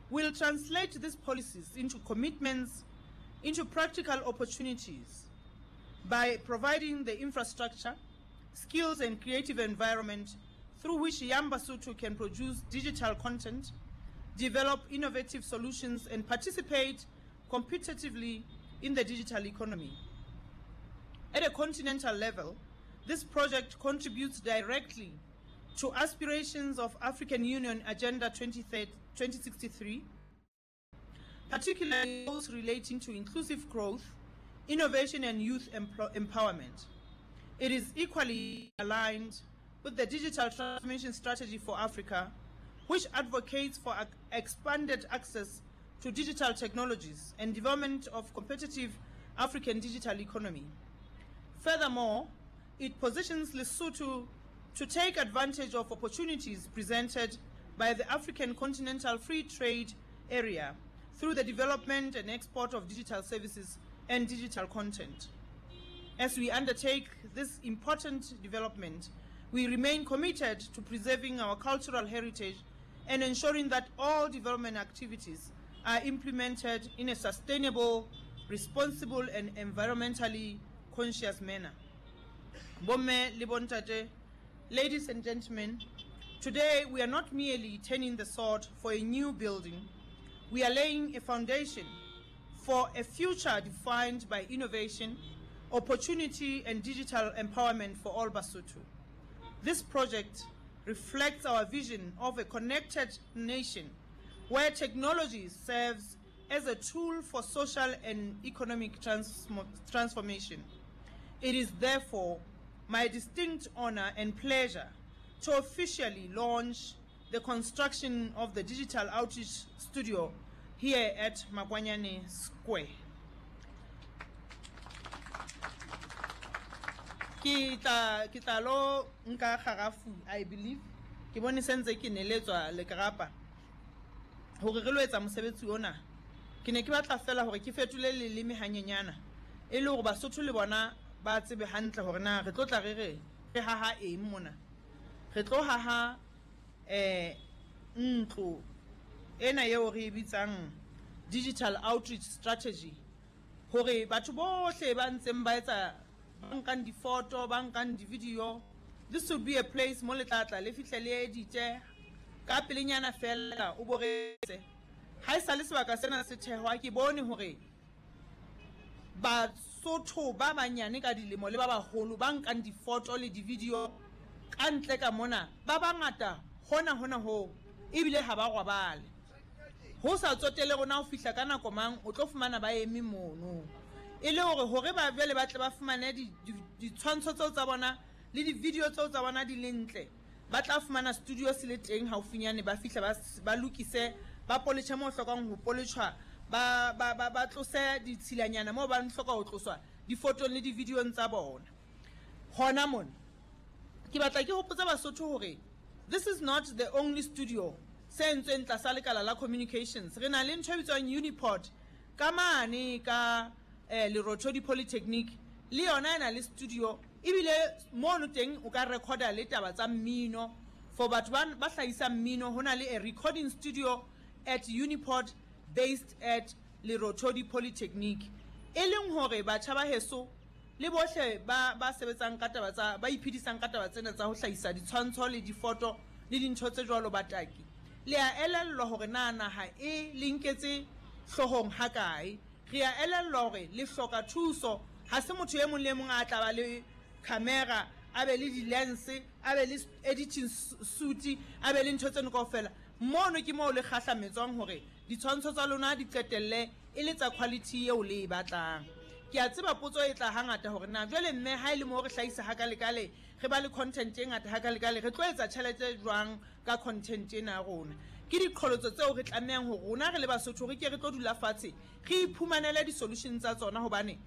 will translate these policies into commitments, into practical opportunities by providing the infrastructure, skills and creative environment through which young Basotho can produce digital content, develop innovative solutions and participate competitively in the digital economy. At a continental level, this project contributes directly to aspirations of African Union Agenda 2063, particularly those relating to inclusive growth, innovation and youth empowerment. It is equally aligned with the Digital Transformation Strategy for Africa, which advocates for expanded access to digital technologies and development of competitive African digital economy. Furthermore, it positions Lesotho to take advantage of opportunities presented by the African Continental Free Trade Area through the development and export of digital services and digital content. As we undertake this important development, we remain committed to preserving our cultural heritage and ensuring that all development activities are implemented in a sustainable, responsible and environmentally conscious manner. Bomme le bontate, ladies and gentlemen, today we are not merely turning the sword for a new building, we are laying a foundation for a future defined by innovation, opportunity and digital empowerment for all Basotho. This project reflects our vision of a connected nation where technology serves as a tool for social and economic transformation. It is therefore my distinct honor and pleasure to officially launch the construction of the Digital Outreach Studio here at Makwanyane Square. Ke tla ke tla lo nka garafu, I believe ke bone sentse ke neletswa lekrapa hore re lo etsa mosebetsi ona. Ke ne ke batla fela hore ke fetole leleme hanyenyana e le hore Basotho le bona ba tsebe hantle hore na re tlo tla re re re haha eng mona. Re tlo haha eh ntlo ena eo re e bitsang digital outreach strategy, hore batho bohle ba ntseng ba etsa, ba nkang difoto, ba nkang di-video, this will be a place mo le tla tla le fihle le edite ka pelenyana fela o boretse. Ha e sale sebaka sena se thehwa, ke bone hore Basotho ba banyane ka dilemo le ba baholo ba nkang difoto le di-video ka ntle ka mona ba bangata hona hona hoo, ebile ha ba robale. Ho sa tsotele rona ho fihla ka nako mang, o tlo fumana ba eme mono e le hore hore ba jwale ba tle ba fumane ditshwantsho tseo tsa bona le di-video tseo tsa bona di le ntle. Ba tla fumana studio se le teng haufinyane, ba fihla ba lokise, ba poletjhe moo hlokang ho poletjhwa, ba tlose ditshilanyana moo ba hloka ho tloswa difotong le di-videong tsa bona. Hona mona ke batla ke hopotse Basotho hore this is not the only studio se entsweng tlasa lekala la communications. Re na le ntho e bitswang Uniport ka mane ka Lerothodi Polytechnic, le yona e na le studio, ebile mono teng o ka recorda le taba tsa mmino for batho ba hlahisang mmino. Ho na le a recording studio at Uniport based at Lerothodi Polytechnic, e leng hore batjha ba heso le bohle ba sebetsang ka taba tsa, ba iphedisang ka taba tsena tsa ho hlahisa ditshwantsho le difoto le dintho tse jwalo, bataki, le a elellwa hore na naha e le nketse hloohong ha kae. Re a elellwa hore le hloka thuso. Ha se motho e mong le mong a tla ba le camera, a be le di-lens, a be le editing suit, a be le ntho tseno kaofela. Mono ke moo le kgahlametswang hore ditshwantsho tsa lona di qetelle e le tsa quality eo le e batlang. Ke a tseba potso e tla hangata hore na jwale mme ha e le moo re hlahisa hakalekale, re ba le content e ngata hakalekale, re tlo etsa tjhelete jwang ka content ena ya rona? Ke diqholotso tseo re tlamehang hore rona re le Basotho re ke re tlo dula fatshe re iphumanele di-solution tsa tsona, hobane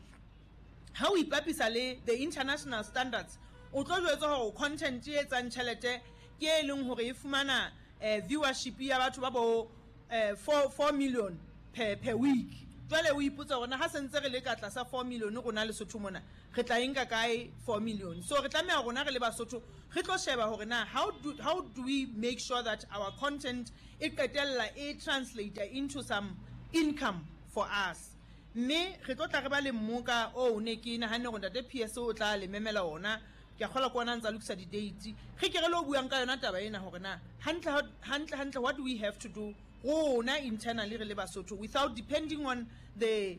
ha o ipapisa le the international standards, o tlo jwetswa hore content e etsang tjhelete ke e leng hore e fumana viewership ya batho ba bo 4 million per week. Jwale o ipotsa hore na ha se ntse re le ka tlasa 4 million rona Lesotho mona, re tla e nka kae 4 million? So re tlameha rona re le Basotho re tlo sheba hore na how do, how do we make sure that our content e qetella e translate into some income for us. Mme re tlo tla re ba le mmoka oo ne ke nahanne hore Ntate PS o tla le memela ona. Ke a kgolwa ke ona a ntsa lokisa di-date. Re ke re lo buang ka yona taba ena hore na hantle hantle hantle what do we have to do rona internally re le Basotho without depending on the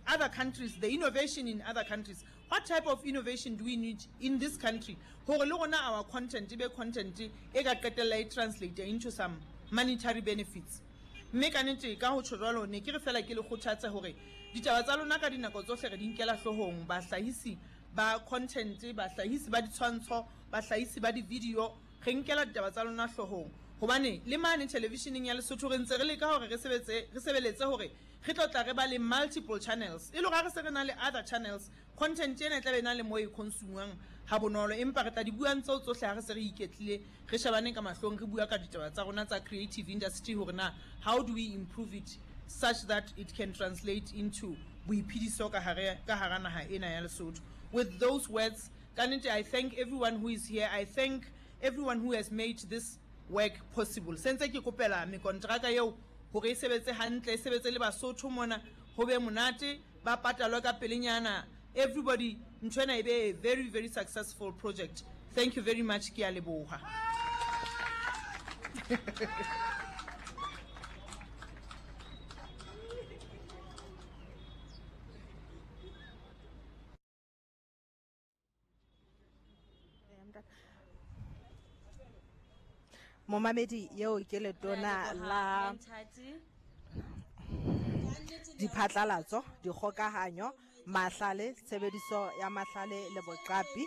other countries, the innovation in other countries. What type of innovation do we need in this country hore le rona our content e be content e ka qetella e translate into some monetary benefits. Mme ka nete ka ho tjho jwalo ne ke re fela ke le kgothatse hore ditaba tsa lona ka dinako tsohle re di nkela hloohong, bahlahisi ba content, bahlahisi ba ditshwantsho, bahlahisi ba di-video, re nkela ditaba tsa lona hloohong. Hobane le mane televisheneng ya Lesotho re ntse re leka hore re sebetse, re sebeletse hore re tlo tla re ba le multiple channels. E le hore ha re se re na le other channels, content ena e tla be e na le moo e consumwang ha bonolo. Empa re tla di buang tseo tsohle ha re se re iketlile, re shebane ka mahlong, re bua ka ditaba tsa rona tsa creative industry hore na how do we improve it such that it can translate into boiphediso ka hare, ka hara naha ena ya Lesotho. With those words, ka nnete I thank everyone who is here. I thank everyone who has made this work possible. Se ntse ke kopela mekonteraka eo hore e sebetse hantle, e sebetse le Basotho mona, ho be monate, ba patalwe ka pelenyana, everybody, ntho ena e be a very very successful project. Thank you very much, ke a leboha. Momamedi yeo ke letona la diphatlalatso, dikgokahanyo, mahlale, tshebediso ya mahlale le boqapi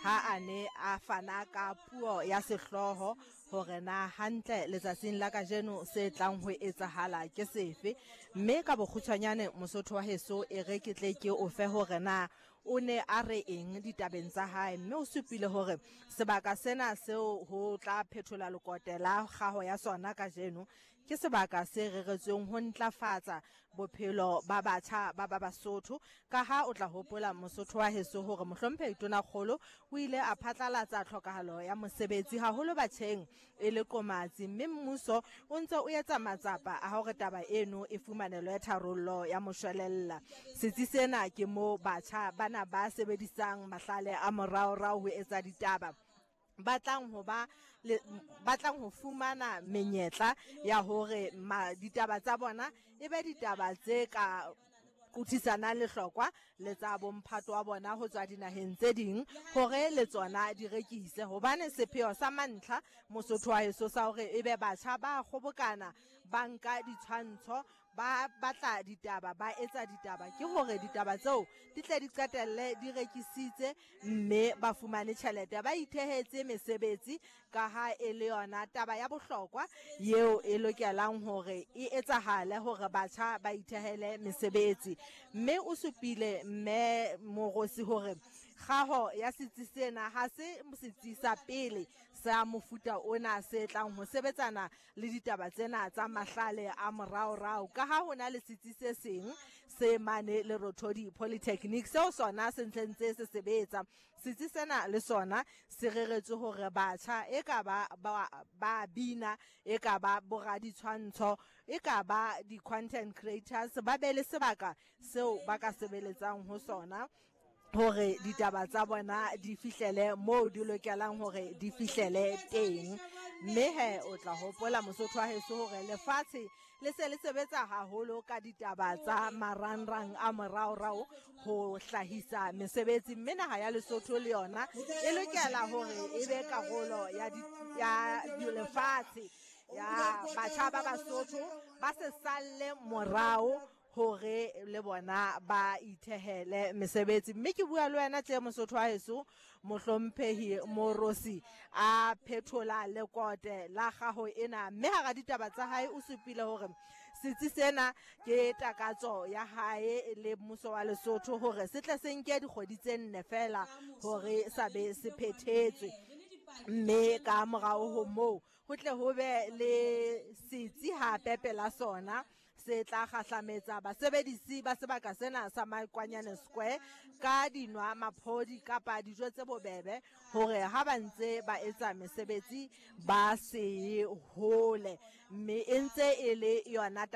ha a ne a fana ka puo ya sehlooho hore na hantle letsatsing la kajeno se tlang ho etsahala ke sefe. Mme ka bokgutshwanyane Mosotho wa heso e re ke tle ke o fe hore na O ne a re eng ditabeng tsa hae? Mme o supile hore sebaka sena seo ho tla phethola lekote la kgaho ya sona kajeno ke sebaka se reretsweng ho ntlafatsa bophelo ba batjha ba ba Basotho. Kaha o tla hopola Mosotho wa heso hore Mohlomphehi Tonakgolo o ile a phatlalatsa tlhokahalo ya mosebetsi haholo batjheng e le qomatsi mme mmuso o ntse o etsa matsapa a hore taba eno e fumanelwe tharollo ya moshwelella. Setsi sena ke moo batjha bana ba sebedisang mahlale a moraorao ho etsa ditaba ba tlang ho ba le, ba tlang ho fumana menyetla ya hore ma, ditaba tsa bona e be ditaba tse ka qothisanang lehlokwa le tsa bomphato wa bona ho tswa dinaheng tse ding hore le tsona di rekise. Hobane sepheo sa mantlha Mosotho wa heso sa hore ebe batjha ba kgobokana ba nka ditshwantsho ba batla ditaba ba etsa ditaba ke hore ditaba tseo di tle di qetelle di rekisitse mme ba fumane tjhelete ba ithehetse mesebetsi ka ha e le yona taba ya bohlokwa yeo e lokelang hore e etsahale hore batjha ba ithehele mesebetsi. Mme o supile Mme Mogosi hore kgaho ya setsi sena ha se setsi sa pele sa mofuta ona se tlang ho sebetsana le ditaba tsena tsa mahlale a moraorao, ka ha ho na le setsi se seng se mane Lerothodi Polytechnic seo sona se ntsentse se sebetsa. Setsi sena le sona se reretswe hore batjha e ka ba ba, ba bina, e ka ba boraditshwantsho, e ka ba di-content creators, ba be le sebaka seo ba ka sebeletsang ho sona hore ditaba tsa bona di fihlele moo di lokelang hore di fihlele teng. Mme he o tla hopola Mosotho wa heso hore lefatshe le se le sebetsa haholo ka ditaba tsa marangrang a moraorao ho hlahisa mesebetsi, mme naha ya Lesotho le yona e lokela hore e be karolo ya ya lefatshe ya batjha ba Basotho ba se salle morao hore le bona ba ithehele mesebetsi. Mme ke bua le wena tje Mosotho wa heso, Mohlomphehi Morosi a phethola lekote la kgaho ena, mme hara ditaba tsa hae o supile hore setsi sena ke takatso ya hae le mmuso wa Lesotho hore se tle se nke dikgwedi tse nne feela hore sa be se phethetswe, mme ka morao ho moo Ho tle ho be le setsi hape pela sona se tla kgahlametsa basebedisi ba sebaka sena sa Makwanyane Square ka dinwa maphodi kapa dijo tse bobebe hore ha ba ntse ba etsa mesebetsi ba se ye hole, mme e ntse e le yona.